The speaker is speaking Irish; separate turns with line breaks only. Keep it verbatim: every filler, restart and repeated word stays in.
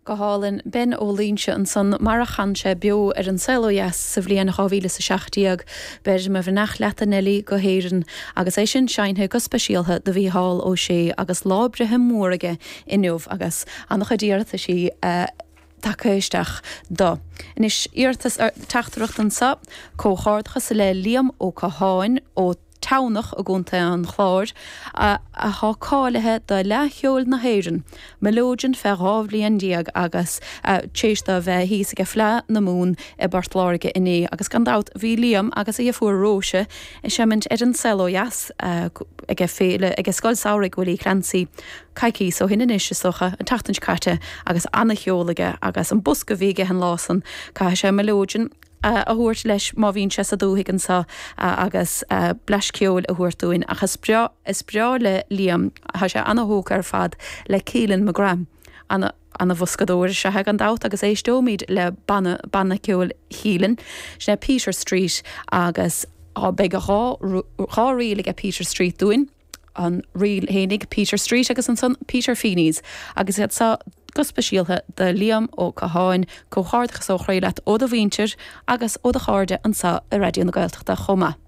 Go hálainn Ben Ó Loingsigh ansan mar a chan sé beo ar An Saol Ó Dheas sa bhliain dhá mhíle is a seacht déag. Beir mo bheannacht leat a Neilí go hÉirinn agus é sin seinnte go speisialtha do Mhícheál Ó Sé agus lá breithe mór aige inniu agus an-chuid iarrataisí tagtha isteach dó. Anois iarratas teachtaireacht anseo, comhghairdeachas le Liam Ó Catháin ó Tamhnach i gContae an Chláir, athá cáilithe do Fhleadh Cheoil na hÉireann, Mileoidean fé dhá bhliain déag agus t'éis dó bheith thíos age Fleadh na Mumhan i bPort Láirge inné agus gan dabht bhí Liam agus a dheirfiúr Róise ag seimint ar An Saol Ó Dheas age féile age Scoil Samhraidh Willie Clancy coicíos ó shin anois is dócha, an tseachtain seo caite agus ana-cheol aige agus an bosca a bhí aige an lá san caithfidh sé Mileoidean a thabhairt leis má bhíonn sé sa dúthaigh anseo agus blais ceoil a thabhairt dúinn. Ach is breá, is breá le Liam, tá sé ana-thógtha ar fad le Keelan McGrath. Ana, ana-bhoscadóir is ea é gan dabht agus éisteoimid le banna, banna ceoil Keelan, sin é Peter Street agus beidh dhá, dhá ríl aige Peter Street dúinn. an ríl fhéinig Peter Street agus ansan Peter Feeney's agus iad seo go speisialtha do Liam Ó Catháin, comhghairdeachas ó chroí leat ó do mhuintir agus ó do chairde anseo i Raidió na Gaeltachta chomh maith.